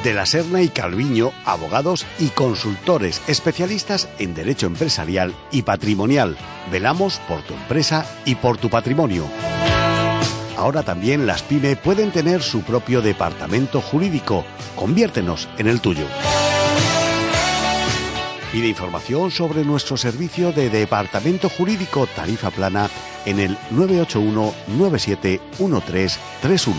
De la Serna y Calviño, abogados y consultores especialistas en derecho empresarial y patrimonial. Velamos por tu empresa y por tu patrimonio. Ahora también las PYME pueden tener su propio departamento jurídico. Conviértenos en el tuyo. Pide información sobre nuestro servicio de departamento jurídico tarifa plana en el 981 97 1331.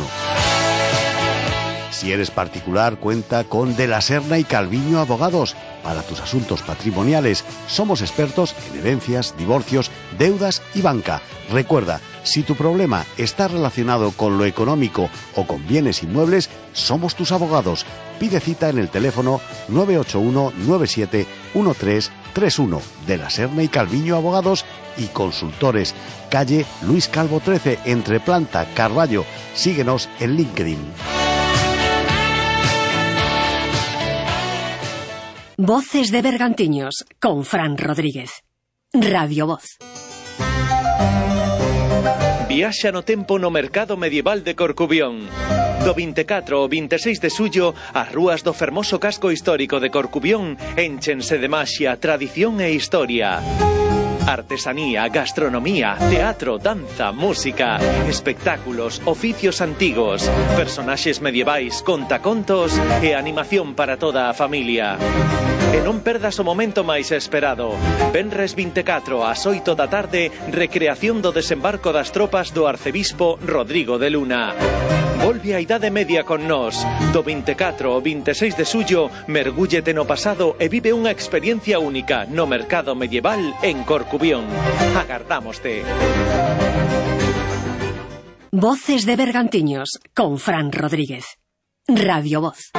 Si eres particular, cuenta con De la Serna y Calviño Abogados. Para tus asuntos patrimoniales, somos expertos en herencias, divorcios, deudas y banca. Recuerda, si tu problema está relacionado con lo económico o con bienes inmuebles, somos tus abogados. Pide cita en el teléfono 981 97 1331. De la Serna y Calviño Abogados y Consultores. Calle Luis Calvo 13, entre Planta, Carballo. Síguenos en LinkedIn. Voces de Bergantiños, con Fran Rodríguez. Radio Voz. Viaxa no tempo no mercado medieval de Corcubión. Do 24 ao 26 de xullo, as rúas do fermoso casco histórico de Corcubión énchense de maxia, tradición e historia. Artesanía, gastronomía, teatro, danza, música, espectáculos, oficios antigos, personaxes medievais, contacontos e animación para toda a familia. E non perdas o momento máis esperado. Venres 24 ás 8 da tarde, recreación do desembarco das tropas do arcebispo Rodrigo de Luna. Volve a Idade Media con nós. Do 24 ao 26 de xullo, mergúllete no pasado e vive unha experiencia única no mercado medieval en Corcubión. Agardámoste. Voces de Bergantiños, con Fran Rodríguez. Radio Voz.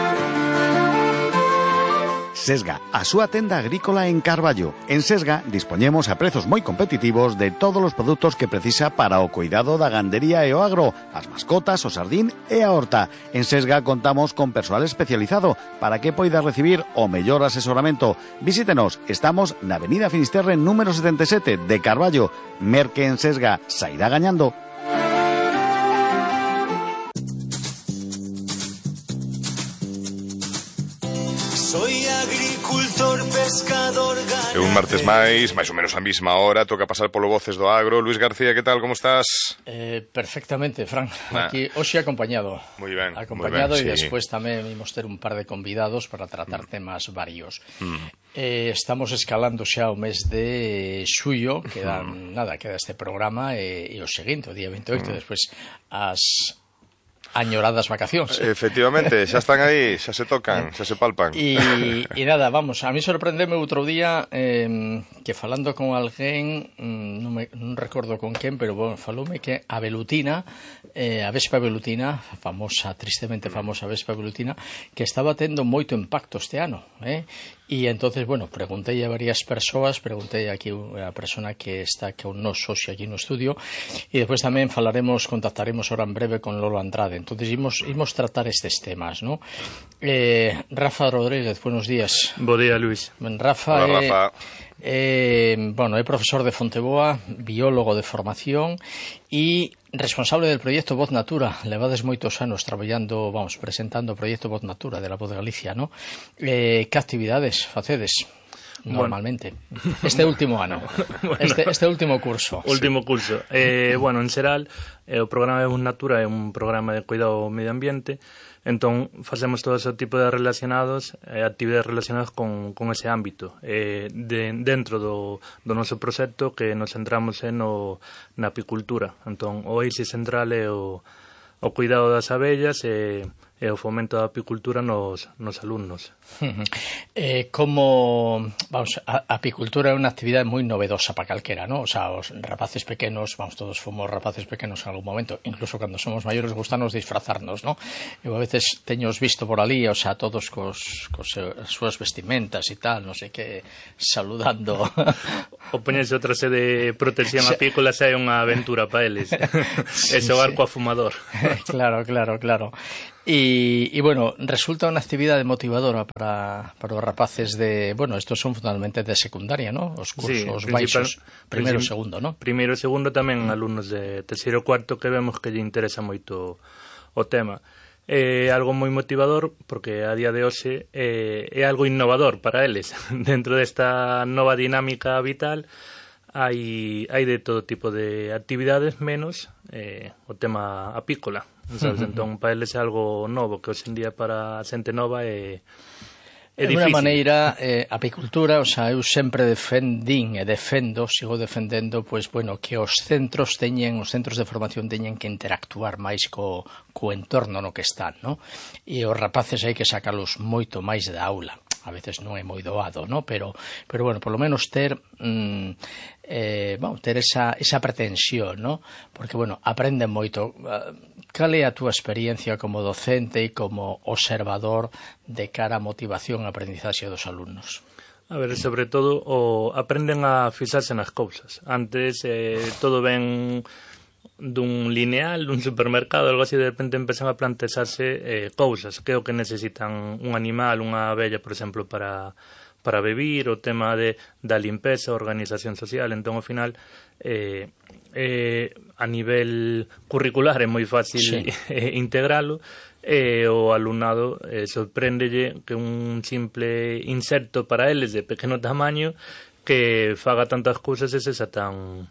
Sesga, a súa tenda agrícola en Carballo. En Sesga dispoñemos a prezos moi competitivos de todos os produtos que precisa para o cuidado da gandería e o agro, as mascotas, o sardín e a horta. En Sesga contamos con persoal especializado para que poida recibir o mellor asesoramento. Visítenos, estamos na Avenida Finisterre número 77 de Carballo. Merque en Sesga, sairá gañando. E un martes máis ou menos a mesma hora, toca pasar polo Voces do Agro. Luis García, que tal, como estás? Perfectamente, Fran. Aquí hoxe acompañado. Moi ben. Acompañado moi ben, e despois tamén imos ter un par de convidados para tratar temas varios. Estamos escalando xa o mes de xullo, queda este programa e o seguinte, o día 28, despois as añoradas vacacións. Efectivamente, xa están aí, xa se tocan, xa se palpan. E nada, vamos, a mí sorprendeme outro día que falando con alguén, non recordo con quen, pero bueno, faloume que a velutina, a vespa velutina, famosa, tristemente famosa vespa velutina, que estaba tendo moito impacto este ano, E entonces, bueno, preguntei a varias persoas, preguntei aquí a persona que está con nos hoxe aquí no estudio, e despois tamén contactaremos ahora en breve con Lolo Andrade. Entonces, imos tratar estes temas, ¿no? Rafa Rodríguez, buenos días. Bo día, Luis. Rafa, hola, Rafa. É profesor de Fonteboa, biólogo de formación e responsable del proyecto Voz Natura. Levades moitos anos traballando, presentando o proyecto Voz Natura de la Voz de Galicia, ¿no? Que actividades facedes normalmente? Este último ano, este último curso. Último curso. Bueno, en xeral, o programa de Voz Natura é un programa de cuidado ao medio ambiente. Entón, facemos todo ese tipo de actividades relacionadas con ese ámbito. Dentro do noso proxecto que nos centramos na apicultura. Entón, o eixe central é o cuidado das abellas e o fomento da apicultura nos alumnos. A apicultura é unha actividade moi novedosa para calquera, ¿no? O sea, os rapaces pequenos, todos fomos rapaces pequenos en algún momento, incluso cando somos maiores gustanos disfrazarnos, ¿no? Eu a veces teños visto por ali, o sea, todos cos súas vestimentas e tal, non sei que, saludando. O poñerse outra de protección apícola xa é unha aventura para eles. E xogar coa fumador. Claro. E bueno, resulta unha actividade motivadora para os rapaces estos son fundamentalmente de secundaria, ¿no? Os cursos baixos, primeiro e segundo, ¿no? Primeiro e segundo tamén alumnos de terceiro e cuarto que vemos que lle interesa moito o tema. é algo moi motivador porque a día de hoxe é algo innovador para eles. Dentro desta nova dinámica vital hai de todo tipo de actividades menos o tema apícola, sabes? Entón, para eles é algo novo que hoxe en día para a xente nova é de unha maneira, apicultura, o sea, eu sempre sigo defendendo, pois, bueno, que os centros de formación teñen que interactuar máis co entorno no que están, no? E os rapaces hai que sacalos moito máis da aula. A veces non é moi doado, no? Pero bueno, por lo menos ter esa pretensión, no? Porque, bueno, aprenden moito. Cal é a túa experiencia como docente e como observador de cara á motivación e aprendizaxe dos alumnos? A ver, sobre todo, aprenden a fixarse nas cousas. Antes, todo ven dun lineal, dun supermercado, algo así, de repente empezan a plantexarse cousas, que é o que necesitan un animal, unha abella, por exemplo, para vivir, o tema da limpeza, organización social. Entón, ao final, a nivel curricular é moi fácil integralo, o alumnado sorpréndelle que un simple inserto para eles de pequeno tamaño que faga tantas cousas e sexa tan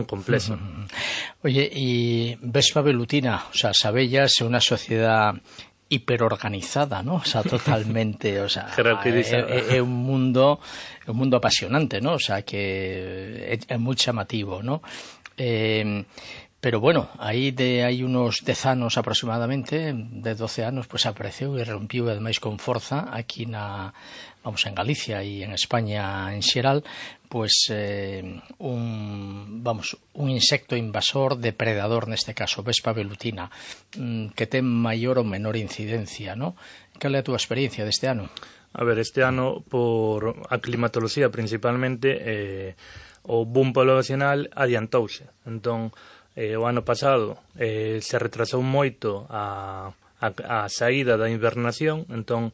complexo. Oye, y Vespa velutina, o sea, as abellas é unha sociedade hiperorganizada, ¿no? O sea, totalmente, o sea, é un mundo apasionante, ¿no? O sea, que é moi chamativo, ¿no? Pero bueno, hai unos 10 anos aproximadamente, de 12 anos, pues apareceu e rompiu ademais con forza aquí en Galicia e en España en xeral, pues un insecto invasor, depredador neste caso, Vespa velutina, que ten maior ou menor incidencia, ¿no? Cal é a túa experiencia deste ano? A ver, este ano, por a climatoloxía principalmente, o boom poblacional adiantouse. Entón, o ano pasado se retrasou moito a saída da invernación, entón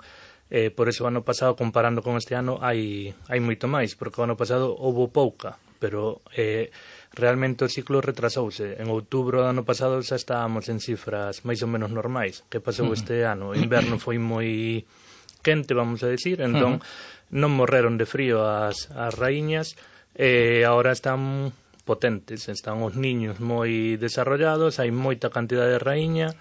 por eso o ano pasado, comparando con este ano, hai moito máis, porque o ano pasado houve pouca, pero realmente o ciclo retrasouse. En outubro do ano pasado xa estábamos en cifras máis ou menos normais. Que pasou este ano? O inverno foi moi quente, vamos a decir, entón non morreron de frío as raíñas, e agora están potentes, están os niños moi desarrollados, hai moita cantidade de raíña,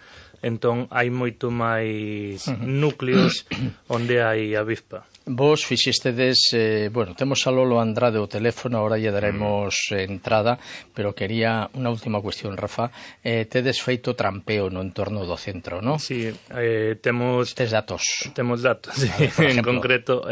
entón hai moito máis núcleos onde hai avispa. Vos fixestedes, bueno, temos a Lolo Andrade o teléfono, ahora lle daremos entrada, pero quería unha última cuestión, Rafa. Tedes feito trampeo no entorno do centro, non? Sí, temos... Tes datos? Temos datos, sí. En concreto,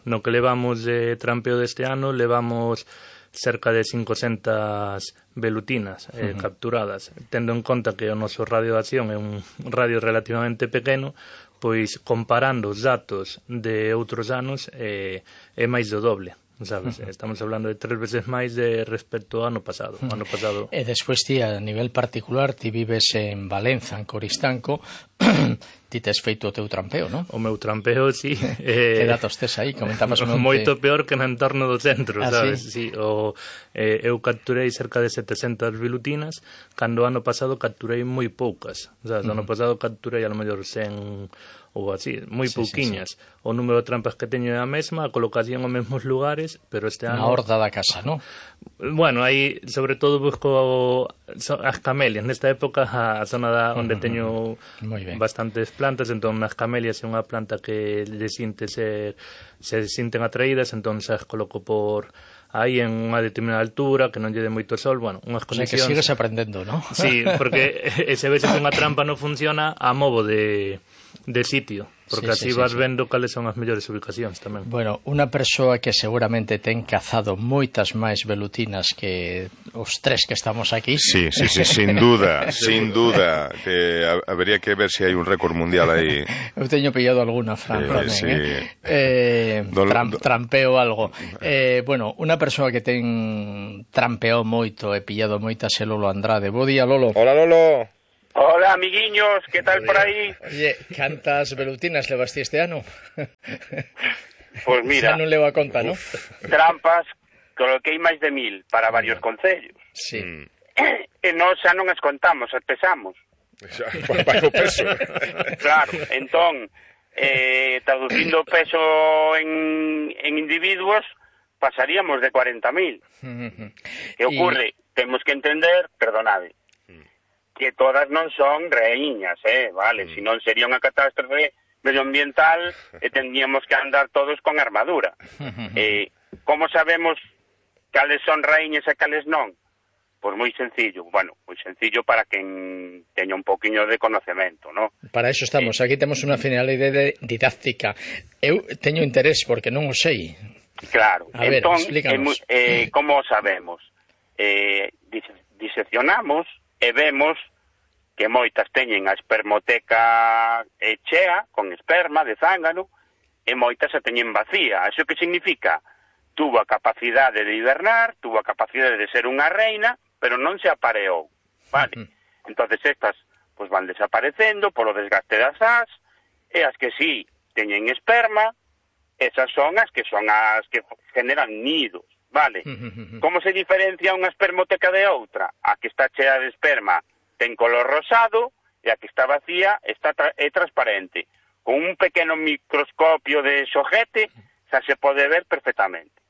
no que levamos de trampeo deste ano, levamos cerca de 500 velutinas capturadas. Tendo en conta que o noso radio de acción é un radio relativamente pequeno, pois comparando os datos de outros anos é máis do doble, sabes? Estamos hablando de 3 veces máis respecto ao ano pasado. E despois ti, a nivel particular, ti vives en Valenza, en Coristanco, ti tes feito o teu trampeo, non? O meu trampeo, sí. Que datos tes aí? Comentabas moito peor que no entorno do centro, sabes? Sí? Sí, eu capturei cerca de 700 velutinas, cando o ano pasado capturei moi poucas. Sabes? O ano pasado capturei a lo mellor 100 ou así, moi pouquiñas. Sí. O número de trampas que teño é a mesma, a colocación aos mesmos lugares, pero este ano... Na horda da casa, non? Bueno, aí, sobre todo, busco as camelias. Nesta época, a zona onde teño bastantes plantas, entón, as camelias é unha planta que se sinten atraídas, entón, as coloco por... aí en unha determinada altura, que non lle dé moito sol, bueno, unhas condicións... O sea, que sigues aprendendo, non? Sí, porque se vese que unha trampa non funciona, a movo de sitio, porque así vas vendo cales son as mellores ubicacións tamén. Bueno, unha persoa que seguramente ten cazado moitas máis velutinas que os 3 que estamos aquí. Sí, sin duda, sin duda. Habería que ver se hai un récord mundial aí. Eu teño pillado alguna, Fran, trampeo algo. Bueno, unha persoa que ten trampeado moito e pillado moitas é Lolo Andrade. Bo día, Lolo. Hola, Lolo. Hola, amiguiños, ¿qué tal por ahí? Oye, cantas velutinas levaste este ano? Pues mira... Xa non levo a conta, ¿no? Trampas, coloquei máis de 1000 para varios concellos. Sí. E nós xa non as contamos, as pesamos. Vai o peso. Claro, entón, traducindo o peso en individuos, pasaríamos de 40.000. Que ocurre? Temos que entender, perdonade, que todas non son raíñas, vale? Se non sería unha catástrofe medioambiental e tendríamos que andar todos con armadura. Como sabemos cales son raíñas e cales non? Pois moi sencillo, moi sencillo para quen teña un poquinho de conocemento, ¿no? Para eso estamos, aquí temos unha finalidade didáctica. Eu teño interés porque non o sei. Claro, a ver, entón, explícanos. como sabemos? Diseccionamos e vemos que moitas teñen a espermoteca chea, con esperma de zángano, e moitas a teñen vacía. Iso que significa? Tuvo a capacidade de hibernar, tuvo a capacidade de ser unha reina, pero non se apareou, vale? Entonces estas pues van desaparecendo polo desgaste das as, e as que sí teñen esperma, esas son as que generan nidos, vale? Como se diferencia unha espermoteca de outra? A que está chea de esperma ten color rosado e a que está vacía é transparente. Con un pequeno microscopio de xojete xa se pode ver perfectamente.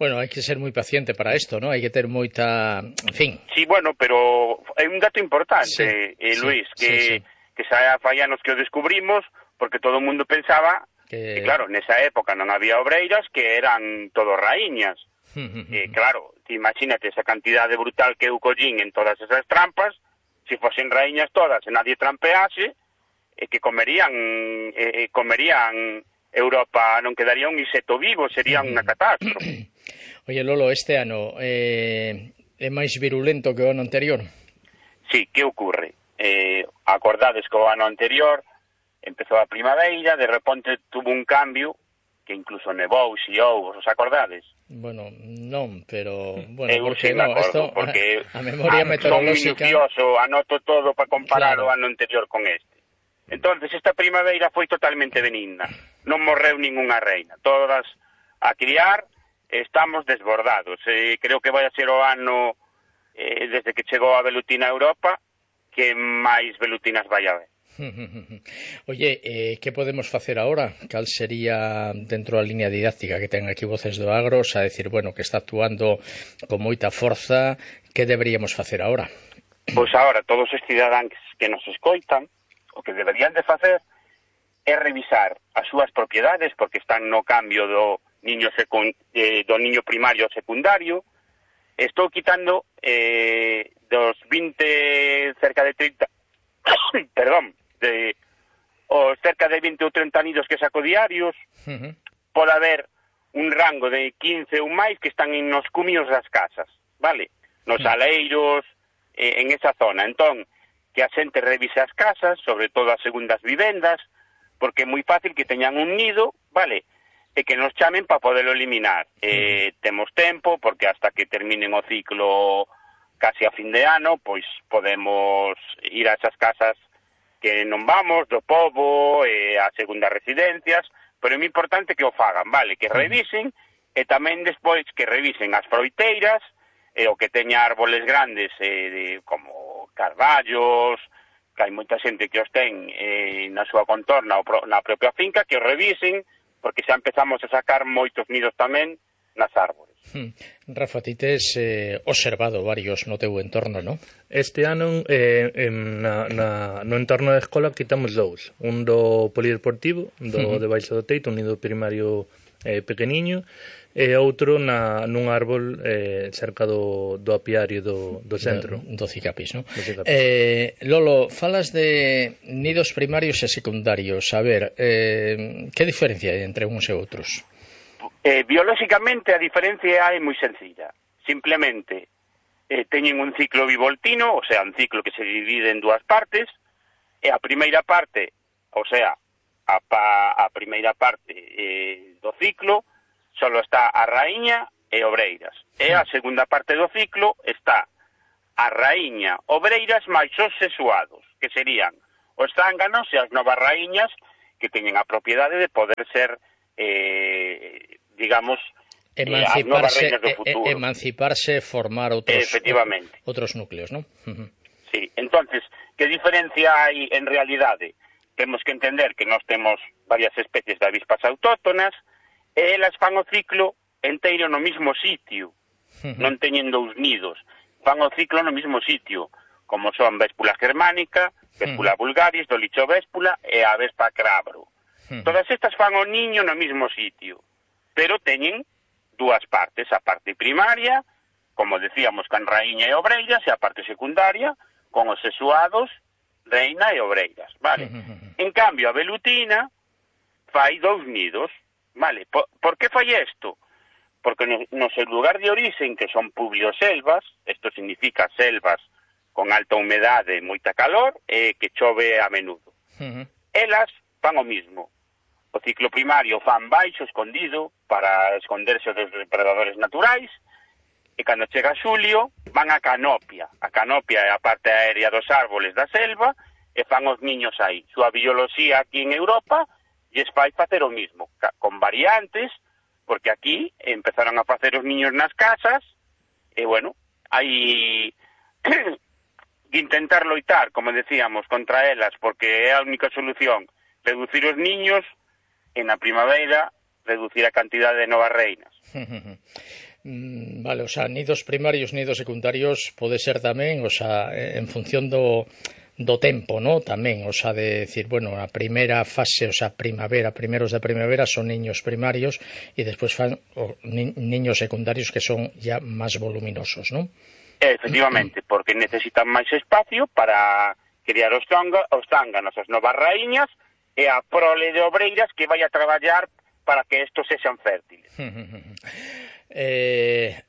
Bueno, hai que ser moi paciente para isto, ¿no? Hai que ter moita... En fin. Sí, bueno, pero é un dato importante, Luis, que xa fai anos que o descubrimos, porque todo o mundo pensaba que, claro, nesa época non había obreiras que eran todo raíñas. Claro, imagínate esa cantidade brutal que eu collín en todas esas trampas, se fosen raíñas todas e nadie trampease, que comerían Europa, non quedaría un insecto vivo, sería unha catástrofe. Oye, Lolo, este ano é máis virulento que o ano anterior? Sí, que ocurre? Acordades que o ano anterior empezou a primavera, de repente tuvo un cambio que incluso nevou, xiou, os acordades? Bueno, non, pero... Bueno, porque non, esto, porque a memoria meteorolóxica... Son minucioso, anoto todo para comparar o ano anterior con este. Entonces, esta primavera foi totalmente benigna. Non morreu ningunha reina. Todas a criar, estamos desbordados. Creo que vai a ser o ano, desde que chegou a velutina a Europa, que máis velutinas vai haber. Oye, que podemos facer agora? Cal sería dentro da línea didáctica que ten aquí Voces do Agro, a decir, bueno, que está actuando con moita forza, que deberíamos facer agora? Pois agora, todos os cidadáns que nos escoitan, o que deberían de facer é revisar as súas propiedades, porque están no cambio do niño primario ao secundario. Estou quitando dos 20, cerca de 30, perdón, cerca de 20 ou 30 nidos que saco diarios, pode haber un rango de 15 ou máis que están nos cumios das casas, vale? Nos aleiros, en esa zona. Entón, que a xente revise as casas, sobre todo as segundas vivendas, porque é moi fácil que teñan un nido, vale? E que nos chamen para poderlo eliminar. Temos tempo, porque hasta que terminen o ciclo casi a fin de ano, pois podemos ir a esas casas que non vamos, do pobo, a segundas residencias, pero é moi importante que o fagan, vale? Que revisen, e tamén despois que revisen as froiteiras, o que teña árboles grandes, como carballos, que hai moita xente que os ten na súa contorna ou na propia finca, que os revisen, porque xa empezamos a sacar moitos nidos tamén nas árbores. Rafa, ti tes observado varios no teu entorno, non? Este ano no entorno da escola quitamos dous. Un do polideportivo, debaixo do teito, un nido primario pequeniño, e outro nun árbol cerca do apiario do centro. Do Cicapis, non? Lolo, falas de nidos primarios e secundarios. A ver, que diferencia hai entre uns e outros? Biolóxicamente a diferencia é moi sencilla. Simplemente teñen un ciclo bivoltino, o sea, un ciclo que se divide en dúas partes, e a primeira parte, o sea, a primeira parte do ciclo, solo está a raíña e obreiras. E a segunda parte do ciclo está a raíña, obreiras máis os sexuados, que serían os zánganos e as novas raíñas que teñen a propiedade de poder ser digamos, as novas reinas do futuro. Emanciparse, formar outros núcleos, non? Sí, entonces, que diferencia hai en realidade? Temos que entender que nós temos varias especies de avispas autóctonas e elas fan o ciclo enteiro no mismo sitio, non teñen dous nidos, fan o ciclo no mismo sitio, como son Véspula germánica, Véspula vulgaris, Dolicho véspula e a Vespa crabro. Todas estas fan o niño no mismo sitio, pero teñen dúas partes, a parte primaria, como decíamos, con raíña e obreiras, e a parte secundaria, con os sexuados, reina e obreiras, vale? En cambio, a velutina fai dous nidos, vale? Por que fai isto? Porque no seu lugar de origen, que son pluvioselvas, isto significa selvas con alta humedade e moita calor, e que chove a menudo. Elas fan o mismo. O ciclo primario fan baixo, escondido, para esconderse dos depredadores naturais, e cando chega xulio, van a canopia. A canopia é a parte aérea dos árboles da selva, e fan os niños aí. Súa bioloxía aquí en Europa lles fai facer o mismo, con variantes, porque aquí empezaron a facer os niños nas casas, e bueno, hai que intentar loitar, como decíamos, contra elas, porque é a única solución, reducir os niños, e na primavera reducir a cantidade de novas reinas. Vale, o sea, nidos primarios, nidos secundarios pode ser tamén, o sea, en función do tempo, ¿no? Tamén, o sea, de decir, bueno, a primeira fase, o sea, primavera, primeros de primavera son niños primarios e despois fan niños secundarios que son ya máis voluminosos, ¿no? Efectivamente, porque necesitan máis espacio para criar os zánganos, as novas raíñas e a prole de obreiras que vai a traballar para que estos sexan fértiles.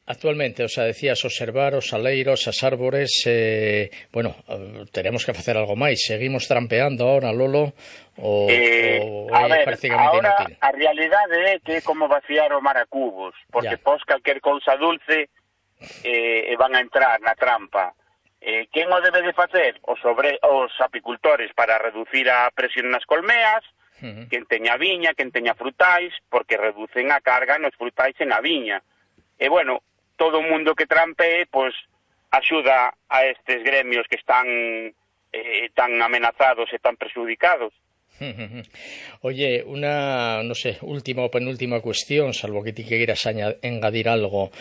Actualmente, o sea, decías observar os aleiros, as árbores, bueno, tenemos que facer algo máis. Seguimos trampeando ahora, Lolo, ou é prácticamente inútil? A realidade é que é como vaciar o mar a cubos, porque pos calquer cousa dulce e van a entrar na trampa. Quen o debe de facer? Os apicultores para reducir a presión nas colmeas, quen teña viña, quen teña frutais, porque reducen a carga nos frutais e na viña. E, bueno, todo o mundo que trampee, pois, axuda a estes gremios que están tan amenazados e tan perjudicados. Oye, una, no sé, última o penúltima cuestión, salvo que ti queiras engadir algo.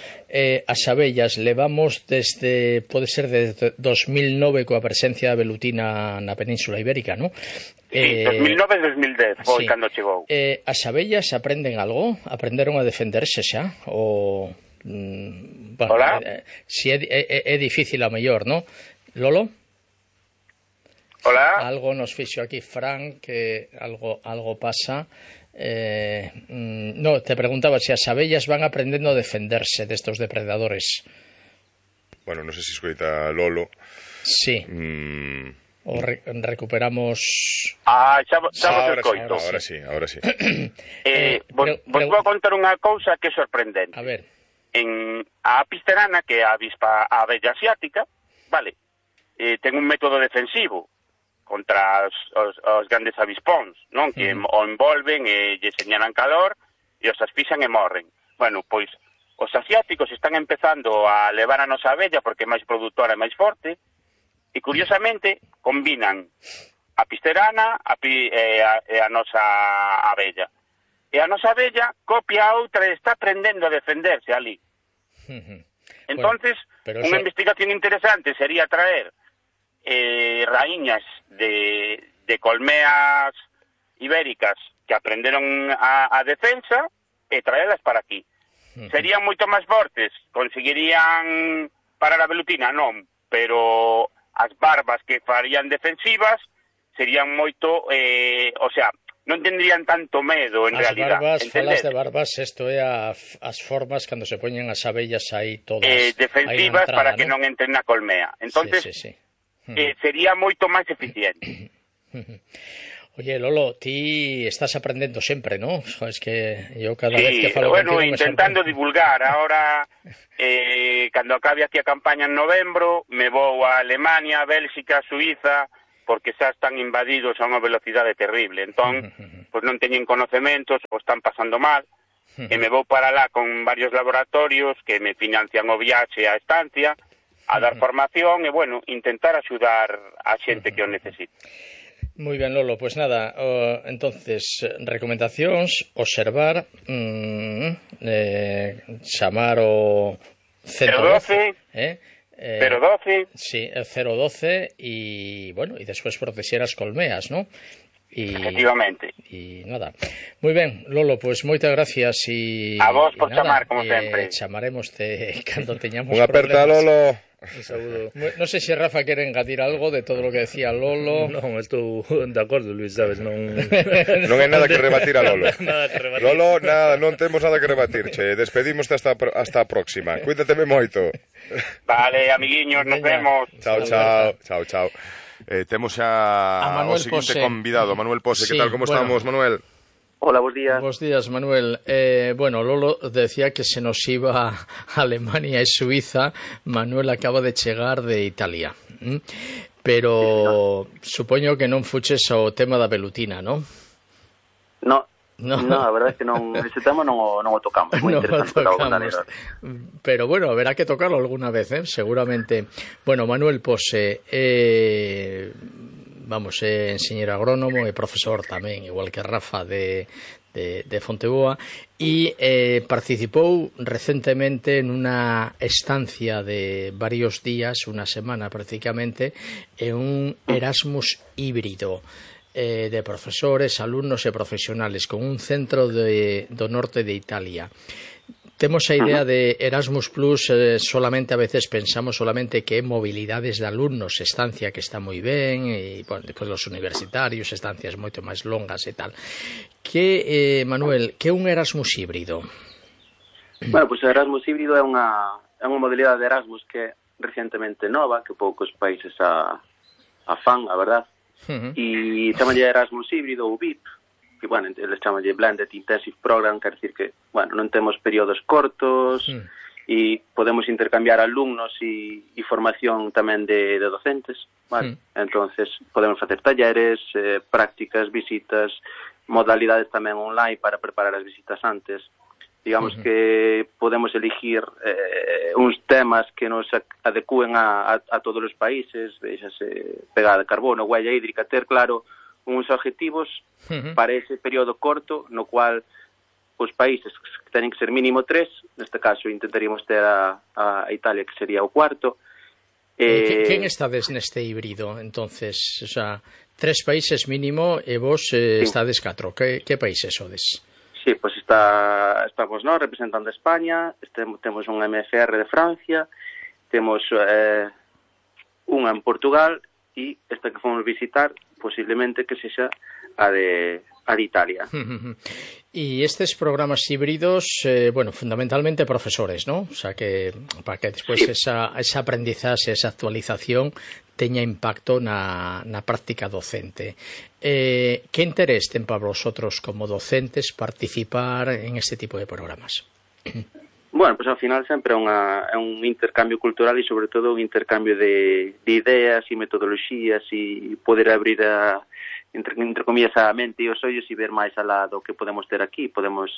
As abellas levamos desde, pode ser desde 2009 coa presencia da velutina na Península Ibérica, ¿no? Sí, 2009-2010 foi cando chegou. As abellas aprenden algo? Aprenderon a defenderse xa? Ou, bueno, hola? Si é difícil a mellor, ¿no? Lolo? Hola. Algo nos fixo aquí Fran, que algo pasa. No, te preguntaba si as abellas van aprendendo a defenderse destos depredadores. Bueno, non sei se escoita Lolo. Sí. O recuperamos... xa vos escoito. Ahora sí. Vos vou a contar unha cousa que é sorprendente. A ver. En a apisterana, que é a avispa abella asiática, vale, ten un método defensivo contra os grandes avispóns, non? Que o envolven e lle señalan calor e os asfixian e morren. Bueno, pois os asiáticos están empezando a levar a nosa abella porque é máis produtora e máis forte e curiosamente combinan a pisterana e a nosa abella. E a nosa abella copia a outra e está aprendendo a defenderse ali. Entonces, bueno, unha investigación interesante sería traer raíñas de colmeas ibéricas que aprenderon a defensa e traelas para aquí. Serían moito máis fortes, conseguirían parar a velutina, non, pero as barbas que farían defensivas serían moito, o sea, non tendrían tanto medo en realidad. As barbas, falas de barbas, isto é as formas cando se poñen as abellas aí todas defensivas entrada, para que non entren na colmea. Entonces, sí. Sería moito máis eficiente. Oye, Lolo, ti estás aprendendo sempre, ¿no? Es que yo cada vez que falo contigo intentando divulgar. Ahora, cando acabe aquí a campaña en novembro, me vou a Alemania, Bélxica, Suiza, porque xa están invadidos a unha velocidade terrible. Entón, pues non teñen conocementos, o están pasando mal, e me vou para lá con varios laboratorios que me financian o viaxe á estancia, a dar formación e, bueno, intentar axudar a xente que o necesite. Moi ben, Lolo, pois nada, entonces, recomendacións, observar, chamar o 112, 012. Sí, el 012 e, bueno, e despois protexer as colmeas, ¿no? Efectivamente. E nada. Moi ben, Lolo, pois moitas gracias e a vos por nada, chamar, como sempre. Chamaremos-te cando teñamos Unha aperta, Lolo. Un saúdo. Non sei se Rafa quere engadir algo de todo o que decía Lolo. Non, estou de acordo, Luis, sabes, non... Non hai nada que rebatir a Lolo. Nada que rebatir. Lolo, nada, non temos nada que rebatir, che. Despedimos hasta a próxima. Cuídateme moito. Vale, amiguiños, nos vemos. Chao, chao. Chao, chao. Temos xa o seguinte convidado, Manuel Pose. Sí, que tal, como estamos, Manuel? Hola, bos días. Bos días, Manuel. Bueno, Lolo decía que se nos iba a Alemania e Suiza. Manuel acaba de chegar de Italia. Pero supoño que non fuches ao tema da velutina, non? No, a verdade é que non, ese tema non o tocamos. Moi interesante. Pero bueno, haberá que tocarlo alguna vez, seguramente. Bueno, Manuel Pose, vamos, enxeñeiro agrónomo e profesor tamén, igual que Rafa de Fonteboa, e participou recentemente en unha estancia de varios días, unha semana prácticamente, en un Erasmus híbrido de profesores, alumnos e profesionales con un centro do norte de Italia. Temos a idea de Erasmus Plus, solamente a veces pensamos solamente que é mobilidades de alumnos, estancia que está moi ben, e bueno, despois los universitarios, estancias moito máis longas e tal. Que, Manuel, que é un Erasmus híbrido? Bueno, pois o Erasmus híbrido é unha modalidade de Erasmus que é recientemente nova, que poucos países a fan, a verdad. E chamanlle Erasmus híbrido ou VIP, que, bueno, eles chamanlle Blended Intensive Program, quer decir que, bueno, non temos períodos cortos e podemos intercambiar alumnos e formación tamén de docentes, vale? Entonces, podemos facer talleres, prácticas, visitas, modalidades tamén online para preparar as visitas antes. Digamos que podemos elegir uns temas que nos adecúen a todos os países, vexase pegada de carbono, huella hídrica, ter claro uns objetivos para ese período corto, no cual os países que teñen que ser mínimo 3, neste caso intentaríamos ter a Italia, que sería o cuarto. Quen estades neste híbrido, entonces? O sea, 3 países mínimo e vos estades 4. Que países sodes? Sí, pois estamos nós representando a España, temos un MFR de Francia, temos unha en Portugal e esta que fomos visitar posiblemente que sexa a de Italia. E estes programas híbridos, bueno, fundamentalmente profesores, ¿no? O sea, que para que despois esa aprendizaxe, esa actualización teña impacto na práctica docente. Que interés ten para vosotros como docentes participar en este tipo de programas? Bueno, pues ao final sempre é un intercambio cultural e sobre todo un intercambio de ideas e metodoloxías e poder abrir entre comillas a mente e os ollos e ver máis alá do que podemos ter aquí. Podemos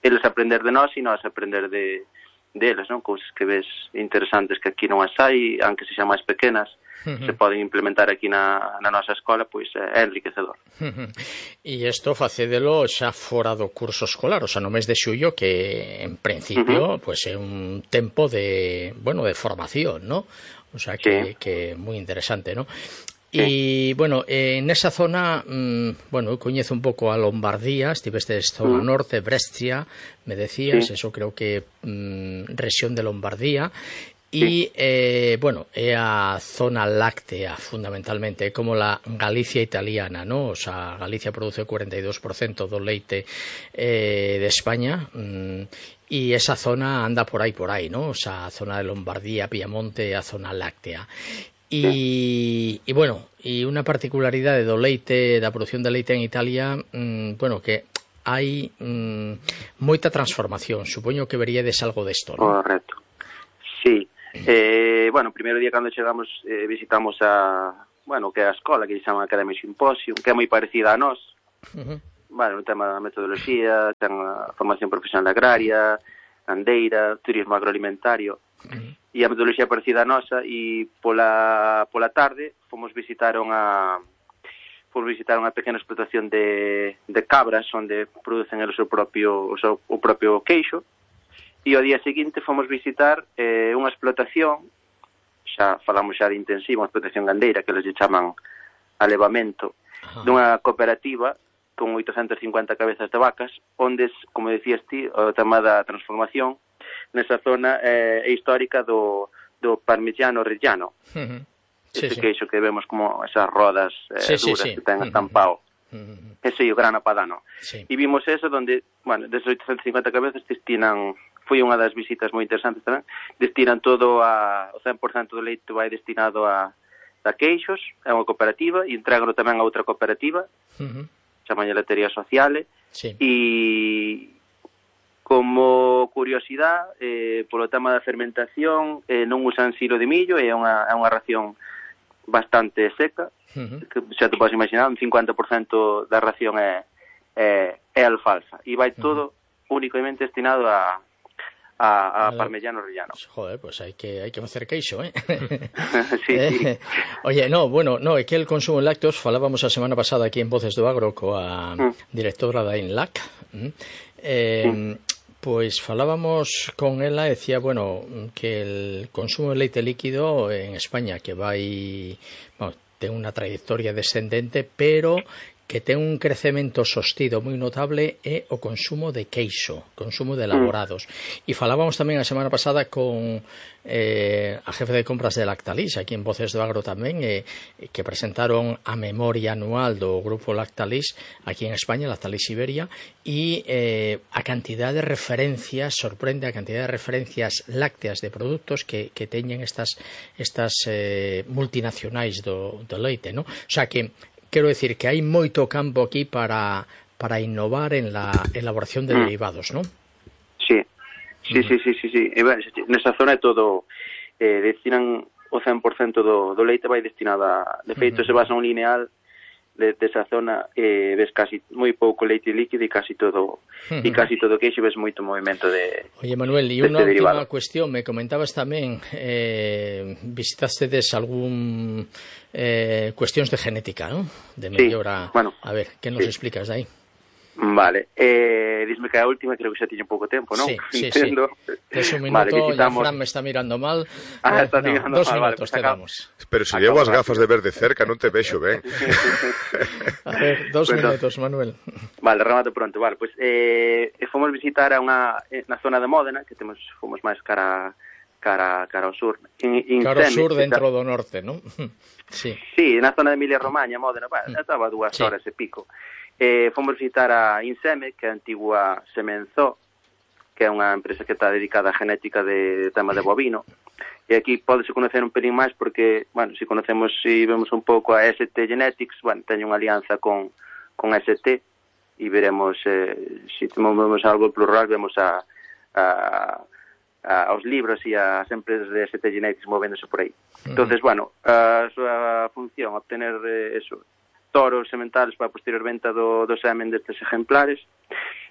eles aprender de nós e nós aprender deles, non? Cousas que ves interesantes que aquí non as hai, aunque sexan máis pequenas, se poden implementar aquí na nosa escola, pois é enriquecedor. E isto facédelo xa fora do curso escolar, o sea, no mes de xullo, que en principio pois é un tempo de, bueno, de formación, ¿no? O sea, que é moi interesante, ¿no? E, bueno, nesa zona, bueno, eu coñezo un pouco a Lombardía, estiveste zona norte, Brescia, me decías, eso creo que rexión de Lombardía, e, bueno, é a zona láctea, fundamentalmente, é como la Galicia italiana, ¿no? O sea, Galicia produce o 42% do leite de España, e esa zona anda por aí, ¿no? O sea, a zona de Lombardía, Piamonte, a zona láctea. E bueno, e unha particularidade do leite, da produción de leite en Italia, bueno, que hai moita transformación. Supoño que veríades algo desto, ¿no? Correcto. Sí. Bueno, o primeiro día cando chegamos visitamos bueno, que é a escola, que se chama Academy Symposium, que é moi parecida a nós. Bueno, no tema da metodoloxía, ten a formación profesional agraria, andeira, turismo agroalimentario. e a metodoloxía parecida a nosa, e pola tarde fomos visitar unha pequena explotación de cabras onde producen o propio queixo, e ao día seguinte fomos visitar unha explotación, xa falamos xa de intensiva, unha explotación gandeira que les chaman alevamento, dunha cooperativa con 850 cabezas de vacas, onde, como decías ti, o tema da transformación nesa zona histórica do parmigiano reggiano. Ese queixo que vemos como esas rodas duras que ten estampado. Ese é o grana padano. E vimos eso donde, bueno, desde 850 cabezas destinan, foi unha das visitas moi interesantes tamén, destinan todo o 100% do leite vai destinado a queixos, é unha cooperativa, e entregan tamén a outra cooperativa, chamaña Letería Sociale, e como curiosidade, polo tema da fermentación, non usan silo de millo, é unha ración bastante seca, que xa te podes imaginar, un 50% da ración é alfalfa, e vai todo únicamente destinado a parmigiano reggiano. Joder, pues hai que facer queixo, sí. Oye, é que el consumo de lácteos, falábamos a semana pasada aquí en Voces do Agro coa directora da INLAC, pois falábamos con ela e decía, que el consumo de leite líquido en España que ten unha trayectoria descendente, pero que ten un crecemento sostido moi notable é o consumo de queixo, consumo de elaborados. E falábamos tamén a semana pasada con a jefe de compras de Lactalis, aquí en Voces do Agro tamén, que presentaron a memoria anual do grupo Lactalis aquí en España, Lactalis Iberia, e a cantidad de referencias, sorprende a cantidad de referencias lácteas de produtos que teñen estas multinacionais do leite, non? O sea que quero decir que hai moito campo aquí para innovar en la elaboración de derivados, non? Sí. Nesa zona é todo, destinan o 100% do leite vai destinado de feito, se vas a un lineal desa zona, ves casi moi pouco leite líquido e casi todo queixo, ves moito movimento de Oye, Manuel, e unha última cuestión, me comentabas tamén, visitastedes algún cuestións de genética, ¿no? De mellora. A ver, que nos explicas aí? Vale, disme que a última creo que xa tiña un pouco tempo, non? Sí. Es un minuto, ya Fran me está mirando mal. Está mirando 2 mal, minutos te damos. Pero se llevo as gafas de ver de cerca, non te vexo, ben? A ver, 2 minutos, Manuel. Vale, remato pronto. Vale, pois fomos visitar na zona de Módena, que fomos máis cara ao sur. Cara ao sur dentro do norte, non? Sí, na zona de Emilia-Romagna, Módena, estaba 2 horas e pico. Fomos visitar a Inseme, que é a antigua Semenzo, que é unha empresa que está dedicada á genética de tema de bovino. E aquí pódese conocer un pelín máis porque, se conocemos, se vemos un pouco a ST Genetics, teño unha alianza con ST e veremos, se vemos algo plural, vemos aos libros e as empresas de ST Genetics movéndose por aí. Entonces, a súa función, obtener toros sementales para a posterior venta do semen destes ejemplares.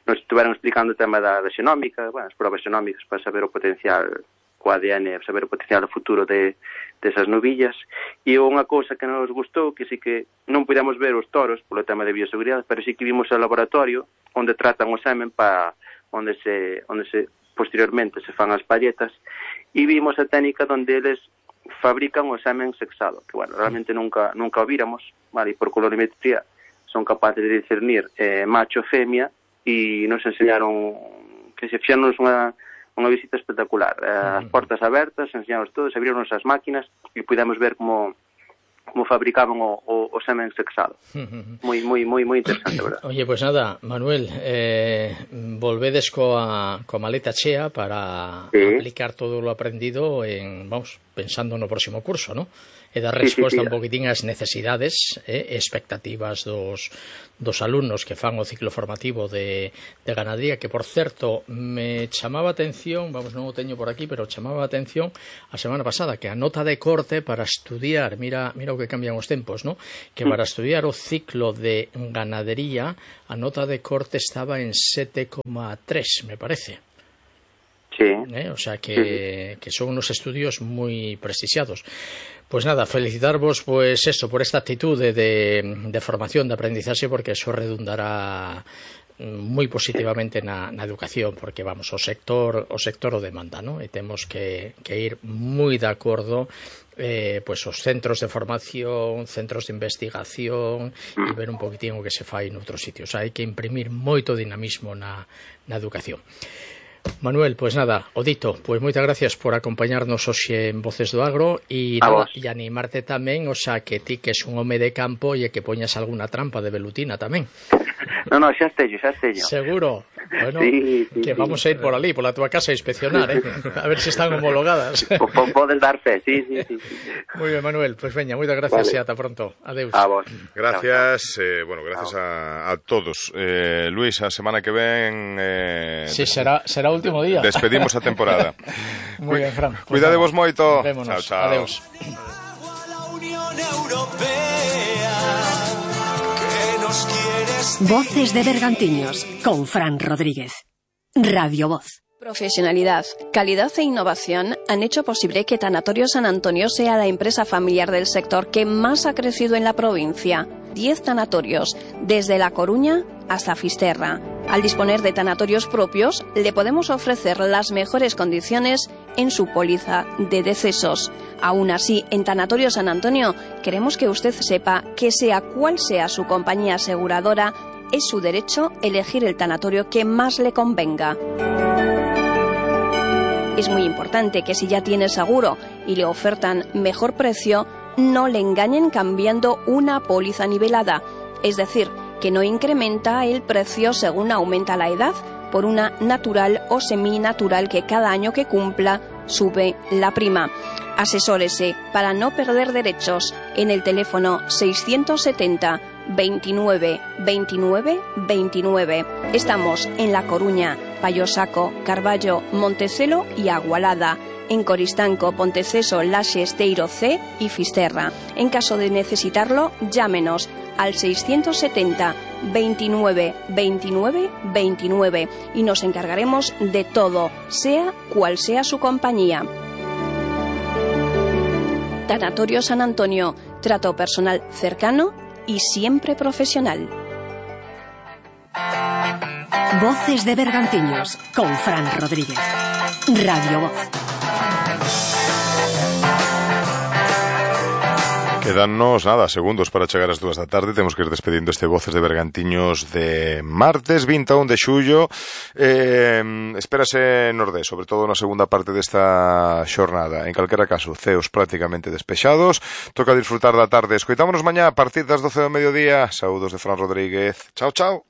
Nos estuveron explicando o tema da xenómica, as probas xenómicas para saber o potencial co ADN, saber o potencial futuro desas novillas. E unha cousa que nos gustou, que sí que non podíamos ver os toros polo tema de bioseguridade, pero sí que vimos o laboratorio onde tratan o semen para onde se posteriormente se fan as palletas, e vimos a técnica onde eles fabrican o semen sexado, que realmente nunca o víramos, e por colorimetría son capaces de discernir macho e femia, e nos enseñaron que se fixaron unha visita espectacular, as portas abertas, enseñaron todo, se abriron as máquinas e pudemos ver como fabricaban o semen sexado. Moi interesante, verdad? Oye, pues nada, Manuel, volvedes coa maleta chea para aplicar todo lo aprendido pensando no próximo curso, ¿no? E dar resposta un poquitín ás necesidades e expectativas dos alumnos que fan o ciclo formativo de ganadería, que, por certo, me chamaba a atención, non o teño por aquí, pero chamaba a atención a semana pasada que a nota de corte para estudiar, mira o que cambian os tempos, ¿no? Que para estudiar o ciclo de ganadería a nota de corte estaba en 7,3, me parece. Sí, O sea que son unos estudios muy prestigiados. Pues nada, felicitarvos pues eso, por esta actitud de formación, de aprendizaje, porque eso redundará moi positivamente na educación, porque vamos, o sector o demanda, ¿no? E temos que ir moi de acordo pues os centros de formación, centros de investigación e ver un poquitín o que se fai noutros sitios. Hai que imprimir moito dinamismo na educación. Manuel, pues nada, Odito, pues moitas gracias por acompañarnos hoxe en Voces do Agro e animarte tamén, o sea, que ti que es un home de campo e que poñas alguna trampa de velutina tamén. No, xa esteño. Seguro. Bueno, sí, que vamos a ir por ali, por la tua casa a inspeccionar, a ver se están homologadas. Podes dar fe, sí. Moi ben, Manuel, pues veña, moitas gracias e ata pronto. Adeus. A vos. Gracias, bueno, gracias a todos. Luis, a semana que ven... Sí, será o último día. Despedimos a temporada. Moi ben, Fran. Cuidadevos moito. Vémonos. Chao. Adeus. Voces de Bergantiños con Fran Rodríguez. Radio Voz. Profesionalidad, calidad e innovación han hecho posible que Tanatorio San Antonio sea la empresa familiar del sector que más ha crecido en la provincia. 10 tanatorios, desde La Coruña hasta Fisterra. Al disponer de tanatorios propios, le podemos ofrecer las mejores condiciones en su póliza de decesos. Aún así, en Tanatorio San Antonio, queremos que usted sepa que sea cual sea su compañía aseguradora, es su derecho elegir el tanatorio que más le convenga. Es muy importante que si ya tiene seguro y le ofertan mejor precio, no le engañen cambiando una póliza nivelada, es decir, que no incrementa el precio según aumenta la edad, por una natural o seminatural que cada año que cumpla sube la prima. Asesórese para no perder derechos en el teléfono 670 29 29 29. Estamos en La Coruña, Payosaco, Carballo, Montecelo y Agualada. En Coristanco, Ponteceso, Laxe, Esteiro C y Fisterra. En caso de necesitarlo, llámenos al 670 29 29 29 y nos encargaremos de todo, sea cual sea su compañía. Tanatorio San Antonio, trato personal cercano y siempre profesional. Voces de Bergantiños con Fran Rodríguez. Radio Voz. Quedannos, segundos para chegar ás 2 da tarde. Temos que ir despedindo este Voces de Bergantiños de martes 21 de xullo. Espérase nordés, sobre todo na segunda parte desta xornada. En calquera caso, ceos prácticamente despexados. Toca disfrutar da tarde. Escoitámonos mañá a partir das 12 do mediodía. Saúdos de Fran Rodríguez. Chao.